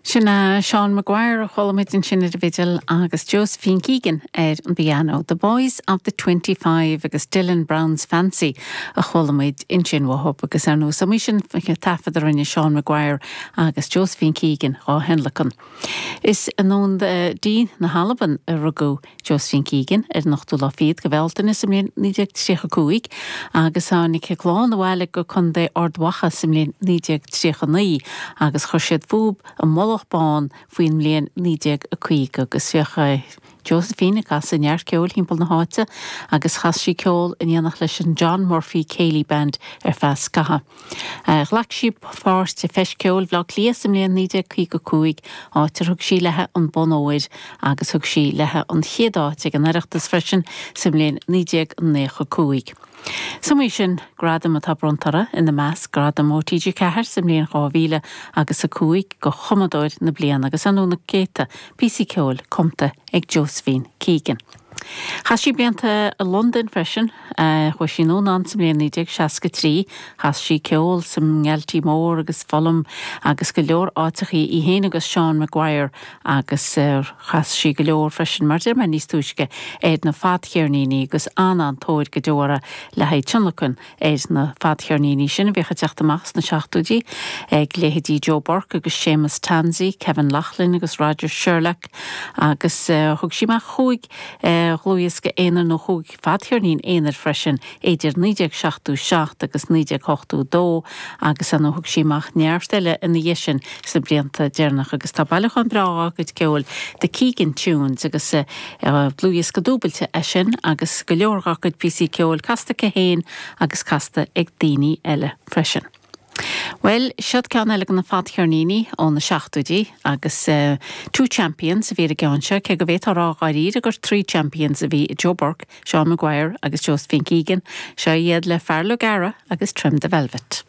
Sin é Seán Maguire a chuala muid ansin ar an bhfidil agus Josephine Keegan ar an bpianó. The Boys of the 25 agus Dylan Brown's Fancy a chuala muid ansin uathub agus ar ndóigh is iomaí sin taifead a rinne Seán Maguire agus Josephine Keegan dhá thionlacan. Is i nDún Dí na hAlban a rugadh Josephine Keegan ar an ochtú lá fichead de Bhealtaine sa mbliain 1935 agus tháinig a clann abhaile go Contae Ard Mhacha sa mbliain 1939 agus chuir siad fúb i Mullach Bán faoin mbliain 1950 agus bhíodh Josephine ag casadh neart ceoil thimpeall na háite agus chas sí ceol in éineacht leis an John Murphy Céilí Band ar feadh scaithimh. Ghlac sí páirt i Feis Ceoil Bhaile Átha Cliath sa mbliain 1955, áit ar thug sí léi an bonn óir agus thug sí léi an chéad áit ag an Oireachtas freisin sa mbliain 1995. Is iomaí sin gradam atá bronnta uirthi, ina measc gradam ó TG4 sa mbliain 2000 agus 5 do Chumadóir na Bliana agus ar ndóigh na céadta píosaí ceoil cumta ag Josephine Keegan. Chaith sí blianta i Londain freisin. Chuaigh sí anonn ann sa mbliain 1963. Chas sí ceol sa nGaltí Mór agus Fulham agus go leor áiteachaí, í féin agus Seán Maguire agus chas sí go leor freisin, mar a deir mé níos túisce, ar na fadcheirníní agus an-an-tóir go deo uirthi le haghaidh tionlacan ar na fadcheirníní sin a bhíodh ag teacht amach sna seachtóidí, ag leithéidí Joe Burke agus Séamus Tansey, Kevin Laughlin agus Roger Sherlock agus thug sí amach chúig dhlúthdhiosca aonair nó chúig fadcheirnín aonair freisin idir 1977 agus 1982 agus ar ndóigh thug sí amach neart eile ina dhiaidh sin sna blianta deireanacha agus tá bailiúchán breá dá cuid ceoil, The Keegan Tunes agus dlúthdhiosca dúbailte é sin agus go leor dá cuid píosaí ceoil casta aici féin agus casta ag daoine eile freisin. Bhuel, siod ceann eile de na fadcheirníní ó na seachtóidí agus Two Champions a bhí ar an gceann seo, cé go bhféadfá a rá dháiríre gur Three Champions a bhí i Joe Burke, Seán Maguire agus Josephine Keegan. Seo iad le Fear Lugara agus Trim the Velvet.